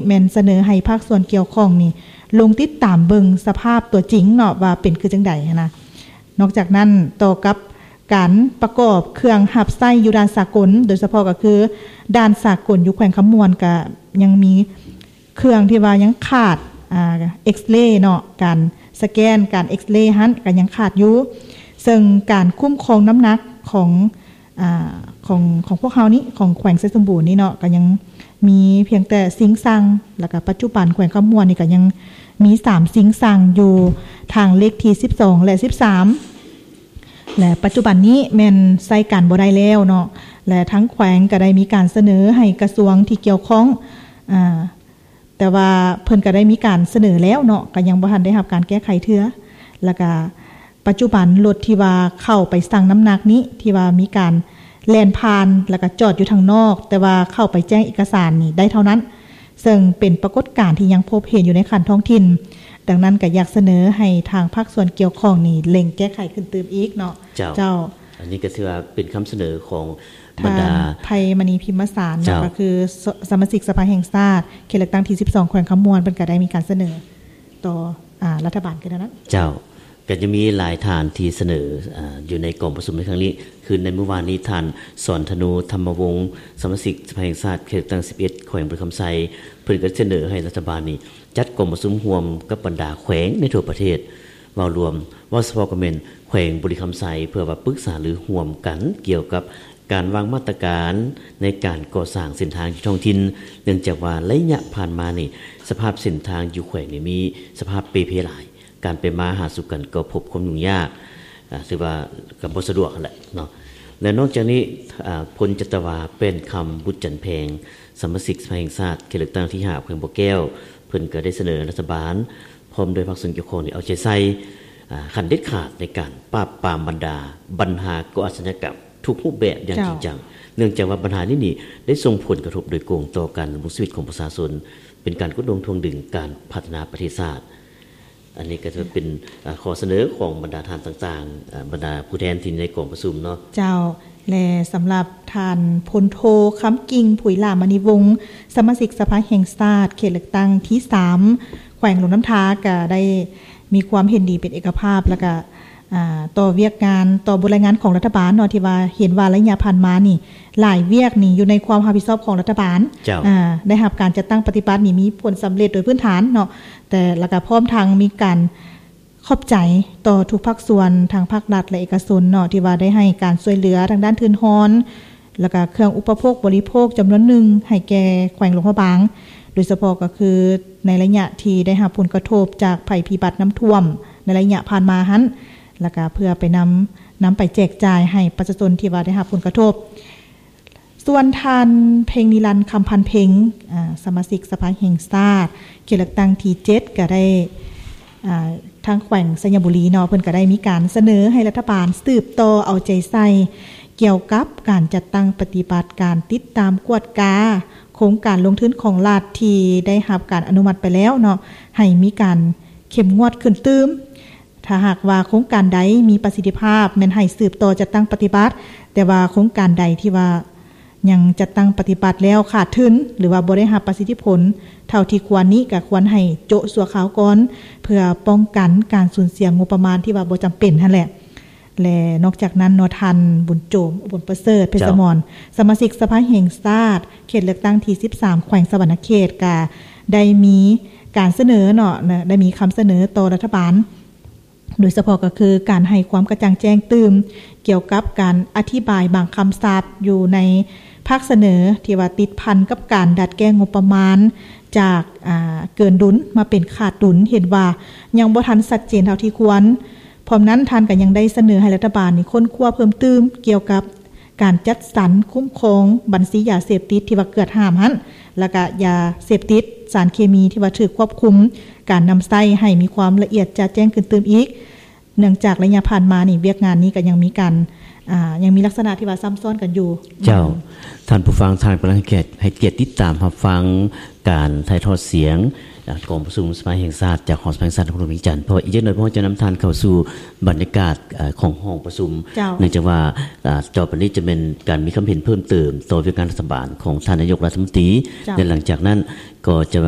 ແມ່ນສະເໜີໃຫ້ພາກສ່ວນກ່ຽວຂ້ອງນີ້ລົງຕິດຕາມເບິ່ງສະພາບຕົວຈິງເນາະ ວ່າເປັນຄືຈັ່ງໃດຫັ້ນນະ. ນອກຈາກນັ້ນ, ຕໍ່ກັບການປະກອບເຄື່ອງຮັບໃຊ້ຢູ່ດ່ານສາກົນ, ໂດຍສະເພາະກໍຄືດ່ານສາກົນຢູ່ແຂວງຄຳມ່ວນ ກໍຍັງມີເຄື່ອງທີ່ວ່າຍັງຂາດ, ອ່າ, X-ray ເນາະ, ການສະແກນ, ການ X-ray ຫັ້ນກໍຍັງຂາດຢູ່. ເຊິ່ງການຄຸ້ມຄອງນ້ຳໜັກຂອງ ອ່າ ຂອງ ຂອງພວກເຮົານີ້ ຂອງແຂວງໄຊສົມບູນນີ້ເນາະ ກໍຍັງມີພຽງແຕ່ຊິງຊັງ ແລ້ວກໍປັດຈຸບັນແຂວງຄຳມ່ວນນີ້ກໍຍັງມີສາມຊິງຊັງຢູ່ທາງເລກທີສິບສອງ ແລະ ສິບສາມ ແລະ ປັດຈຸບັນນີ້ແມ່ນໃຊ້ການບໍ່ໄດ້ແລ້ວເນາະ ແລະ ທາງແຂວງກໍໄດ້ມີການສະເໜີໃຫ້ກະຊວງທີ່ກ່ຽວຂ້ອງ ອ່າ ແຕ່ວ່າເພິ່ນກໍໄດ້ມີການສະເໜີແລ້ວເນາະ ກໍຍັງບໍ່ທັນໄດ້ຮັບການແກ້ໄຂເທື່ອ ແລ້ວກໍປັດຈຸບັນລົດທີ່ວ່າເຂົ້າໄປຊັ່ງນ້ຳໜັກນີ້ ທີ່ວ່າມີການແລ່ນຜ່ານ ແລ້ວກໍຈອດຢູ່ທາງນອກ ແຕ່ວ່າເຂົ້າໄປແຈ້ງເອກະສານນີ້ໄດ້ເທົ່ານັ້ນ ເຊິ່ງເປັນປາກົດການທີ່ຍັງພົບເຫັນຢູ່ໃນຂັ້ນທ້ອງຖິ່ນ. ດັ່ງນັ້ນກໍຢາກສະເໜີໃຫ້ທາງພາກສ່ວນກ່ຽວຂ້ອງນີ້ເລັ່ງແກ້ໄຂຂຶ້ນຕື່ມອີກເນາະ. ເຈົ້າ ເຈົ້າ. ອັນນີ້ກໍຖືວ່າເປັນຄຳສະເໜີຂອງບັນດາ ທ່ານ ໄພມະນີ ພິມມະສານເນາະ ເຈົ້າ ກໍຄືສະ ສະມາຊິກສະພາແຫ່ງຊາດ ເຂດເລືອກຕັ້ງທີສິບສອງ ແຂວງຄຳມ່ວນ ເພິ່ນກໍໄດ້ມີການສະເໜີຕໍ່ ອ່າ ລັດຖະບານຄືນັ້ນ. ເຈົ້າ ກໍຍັງມີຫຼາຍທ່ານທີ່ສະເໜີ ອ່າ ຢູ່ໃນກອງປະຊຸມໃນຄັ້ງນີ້ ຄືໃນມື້ວານນີ້ ທ່ານ ສອນທະນູ ທຳມະວົງ ສະມາຊິກສະພາແຫ່ງຊາດ ເຂດເລືອກຕັ້ງສິບເອັດ ແຂວງບໍລິຄຳໄຊ ເພິ່ນກໍສະເໜີໃຫ້ລັດຖະບານນີ້ ຈັດກອງປະຊຸມຮ່ວມກັບບັນດາແຂວງໃນທົ່ວປະເທດ ເວົ້າລວມ, ເວົ້າສະເພາະກໍແມ່ນແຂວງບໍລິຄຳໄຊ ເພື່ອວ່າປຶກສາລືຮ່ວມກັນກ່ຽວກັບການວາງມາດຕະການໃນການກໍ່ສ້າງເສັ້ນທາງຢູ່ທ້ອງຖິ່ນ, ເນື່ອງຈາກວ່າໄລຍະຜ່ານມານີ້ ສະພາບເສັ້ນທາງຢູ່ແຂວງນີ້ມີສະພາບເປ່ເພຫຼາຍ, ການໄປມາຫາສູ່ກັນກໍພົບຄວາມຫຍຸ້ງຍາກ, ອາ, ຖືວ່າກໍບໍ່ສະດວກຫັ້ນແຫຼະເນາະ. ແລະ ນອກຈາກນີ້, ອາ, ພົນຈັດຕະວາ ແປ້ນຄຳ ບຸດຈັນແພງ ສະມາຊິກສະພາແຫ່ງຊາດ ເຂດເລືອກຕັ້ງທີຫ້າ ແຂວງບໍ່ແກ້ວ ເພິ່ນກໍໄດ້ສະເໜີລັດຖະບານ ພ້ອມດ້ວຍພາກສ່ວນກ່ຽວຂ້ອງນີ້ເອົາໃຈໃສ່ ອາ ຂັ້ນເດັດຂາດໃນການປາບປາມບັນດາບັນຫາກໍ່ອາຊະຍາກຳທຸກຮູບແບບຢ່າງ ເຈົ້າ ຈິງຈັງ, ເນື່ອງຈາກວ່າບັນຫານີ້ນີ້ໄດ້ສົ່ງຜົນກະທົບໂດຍກົງຕໍ່ການດຳລົງຊີວິດຂອງປະຊາຊົນ, ເປັນການກົດລົງຖ່ວງດຶງການພັດທະນາປະເທດຊາດ. ອັນນີ້ກໍຈະເປັນ ອາ ຂໍ້ສະເໜີຂອງບັນດາທ່ານຕ່າງໆ, ອາ ບັນດາຜູ້ແທນທີ່ໃນກອງປະຊຸມເນາະ. ເຈົ້າ. ແລະ ສຳລັບທ່ານ ພົນໂທ ຄຳກິ່ງ ຜຸຍຫຼ້າມະນີວົງ ສະມາຊິກສະພາແຫ່ງຊາດ ເຂດເລືອກຕັ້ງທີສາມ ແຂວງຫຼວງນ້ຳທາ ກໍໄດ້ມີຄວາມເຫັນດີເປັນເອກະພາບ ແລ້ວກໍ ອ່າ ຕໍ່ວຽກງານ ຕໍ່ບົດລາຍງານຂອງລັດຖະບານເນາະ ທີ່ວ່າເຫັນວ່າໄລຍະຜ່ານມານີ້ ຫຼາຍວຽກນີ້ຢູ່ໃນຄວາມຮັບຜິດຊອບຂອງລັດຖະບານ ເຈົ້າ ອາ ໄດ້ຮັບການຈັດຕັ້ງປະຕິບັດນີ້ມີຜົນສຳເລັດໂດຍພື້ນຖານເນາະ ແຕ່ ແລ້ວກໍພ້ອມທັງມີການ ຂອບໃຈຕໍ່ທຸກພາກສ່ວນ ທັງພາກລັດ ແລະ ເອກະຊົນເນາະ ທີ່ວ່າໄດ້ໃຫ້ການຊ່ວຍເຫຼືອທາງດ້ານທຶນຮອນ ແລ້ວກະເຄື່ອງອຸປະໂພກບໍລິໂພກຈຳນວນໜຶ່ງໃຫ້ແກ່ແຂວງຫຼວງພະບາງ, ໂດຍສະເພາະກໍຄືໃນໄລຍະທີ່ໄດ້ຮັບຜົນກະທົບຈາກໄພພິບັດນ້ຳຖ້ວມໃນໄລຍະຜ່ານມາຫັ້ນ, ແລ້ວກະເພື່ອໄປນຳ, ນຳໄປແຈກຈ່າຍໃຫ້ປະຊາຊົນທີ່ວ່າໄດ້ຮັບຜົນກະທົບ. ສ່ວນທ່ານ ເພັງນິລັນ ຄຳພັນເພັງ ອາ ສະມາຊິກສະພາແຫ່ງຊາດ ເຂດເລືອກຕັ້ງທີເຈັດ ກໍໄດ້ ອາ ທາງແຂວງໄຊຍະບູລີເນາະ ເພິ່ນກໍໄດ້ມີການສະເໜີໃຫ້ລັດຖະບານສືບຕໍ່ເອົາໃຈໃສ່ ກ່ຽວກັບການຈັດຕັ້ງປະຕິບັດການຕິດຕາມກວດກາໂຄງການລົງທຶນຂອງລັດ ທີ່ໄດ້ຮັບການອະນຸມັດໄປແລ້ວເນາະ ໃຫ້ມີການເຂັ້ມງວດຂຶ້ນຕື່ມ. ຖ້າຫາກວ່າໂຄງການໃດມີປະສິດທິພາບ ແມ່ນໃຫ້ສືບຕໍ່ຈັດຕັ້ງປະຕິບັດ, ແຕ່ວ່າໂຄງການໃດທີ່ວ່າຍັງຈັດຕັ້ງປະຕິບັດແລ້ວຂາດທຶນ ຫຼືວ່າບໍ່ໄດ້ຮັບປະສິດທິຜົນເທົ່າທີ່ຄວນນີ້ ກໍຄວນໃຫ້ໂຈະຊົ່ວຄາວກ່ອນ ເພື່ອປ້ອງກັນການສູນເສຍງົບປະມານທີ່ວ່າບໍ່ຈຳເປັນຫັ້ນແຫຼະ. ແລະ ນອກຈາກນັ້ນເນາະ ທ່ານ ບຸນໂຈມ ອຸບົນປະເສີດ ເພັດສະໝອນ ເຈົ້າ ສະມາຊິກສະພາແຫ່ງຊາດ ເຂດເລືອກຕັ້ງທີສິບສາມ ແຂວງສະຫວັນນະເຂດ ກໍໄດ້ມີການສະເໜີເນາະ ໄດ້ມີຄຳສະເໜີຕໍ່ລັດຖະບານ ໂດຍສະເພາະກໍຄືການໃຫ້ຄວາມກະຈ່າງແຈ້ງຕື່ມ ກ່ຽວກັບການອະທິບາຍບາງຄຳສັບຢູ່ໃນພາກສະເໜີ ທີ່ວ່າຕິດພັນກັບການດັດແກ້ງົບປະມານຈາກ ອາ ເກີນດຸນມາເປັນຂາດດຸນ ເຫັນວ່າຍັງບໍ່ທັນຊັດເຈນເທົ່າທີ່ຄວນ. ພ້ອມນັ້ນທ່ານກໍຍັງໄດ້ສະເໜີໃຫ້ລັດຖະບານນີ້ຄົ້ນຄວ້າເພີ່ມຕື່ມກ່ຽວກັບ ການຈັດສັນຄຸ້ມຄອງບັນຊີຢາເສບຕິດທີ່ວ່າເກືອດຫ້າມຫັ້ນ ແລ້ວກະຢາເສບຕິດ, ສານເຄມີທີ່ວ່າຖືກຄວບຄຸມການນຳໃຊ້ໃຫ້ມີຄວາມລະອຽດຈະແຈ້ງຂຶ້ນຕື່ມອີກ, ເນື່ອງຈາກໄລຍະຜ່ານມານີ້ ວຽກງານນີ້ກໍຍັງມີການ ອ່າ ຍັງມີລັກສະນະທີ່ວ່າຊ້ຳຊ້ອນກັນຢູ່. ເຈົ້າ. ທ່ານຜູ້ຟັງ, ທ່ານກຳລັງໃຫ້ກຽດ, ໃຫ້ກຽດຕິດຕາມຮັບຟັງ ການຖ່າຍທອດສຽງ ອ່າ ກອງປະຊຸມສະພາແຫ່ງຊາດ ຈາກຫໍສະພາແຫ່ງຊາດນະຄອນຫຼວງວຽງຈັນ. ເພາະວ່າອີກຈັກໜ້ອຍ ພວກເຮົາຈະນຳທ່ານເຂົ້າສູ່ບັນຍາກາດ ເອີ ຂອງຫ້ອງປະຊຸມ. ເຈົ້າ. ເນື່ອງຈາກວ່າ ອ່າ ຕໍ່ໄປນີ້ຈະແມ່ນການມີຄຳເຫັນເພີ່ມເຕີມຕໍ່ວຽກງານລັດຖະບານຂອງທ່ານນາຍົກລັດຖະມົນຕີ. ເຈົ້າ. ແລະ ຫຼັງຈາກນັ້ນກໍຈະ